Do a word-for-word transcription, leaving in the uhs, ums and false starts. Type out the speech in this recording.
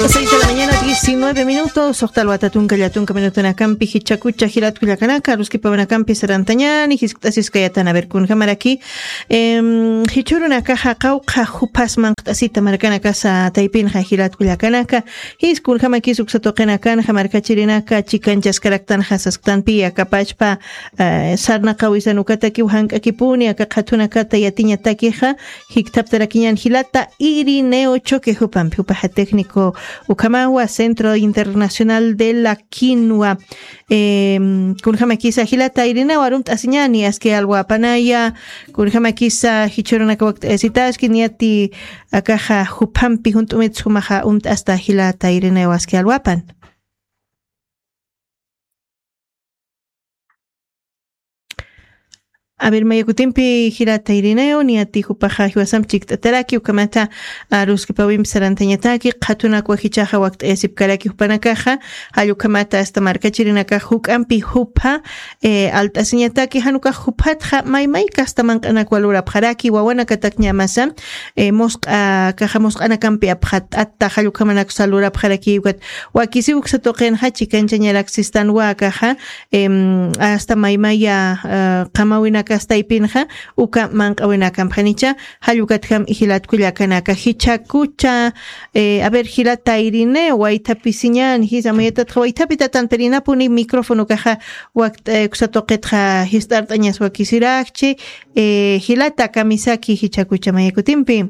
Seis de la mañana, diecinueve minutos, soxta alwata tunka llatunka minutunakampi jichhakucha jilatkullakanaka aruskipawanakampi sarantañani jiskt'asiskayatan a ver kunjamaraki. Jichhurunakaxa qawqha juphas manqt'asita markanakasa taypinxa jilatkullakanaka. Jis kunjamakis uksatuqinakanxa markachirinaka chikanchaskaraktanxa sasktanpi akapachpa sarnaqawisanukatakiw jank'akipuni aka qhatunakata yatiñatakixa. Jikthaptarakiñan jilata irineo choque jupampi jupaxa técnico ukhamawa centro internacional de la quinua. Kunjamakisa jilata irineo arumt'asiñani aski alwapanaya. Kunjamakisa jichhurunaka wakt'ayasitaski niyati akaxa jupampi junt'umit sumaxa umt'asta jilata irineo aski alwapan. A ver mayakutimpi jilata irineo niyati jupaxa jiwasamp chikt'ataraki ukamata aruskipawimp sarantañataki qhatunakwa jichaxa wakt'ayasipkaraki jupanakaxa. Jallukhamata asta markachirinakax juk'ampi jupha alt'asiñataki janukax juphatxa maymayka asta manq'anakwa lurapxaraki wawanakatakñamasa. Musq'a kaxa musq'anakampi apxatt'atta jallukhamanakusa lurapxaraki ukat wakisiw uksa tuqinxa chikanchañarak sistanwa kaxa. Asta maymaya qamawinakastaypinxa uka manq'awinakampxanicha. Jallukatjam ijilatkullakanaka jichhakucha. A ver jilata irine waythapisiñan jisa mayatatxa waythapi tatan pirinapuni micrófono kaxa. Wakt'aykusa tuqitxa jist'art'añas wakisirakchi. Jilata kamisaki jichhakucha mayakutimpi.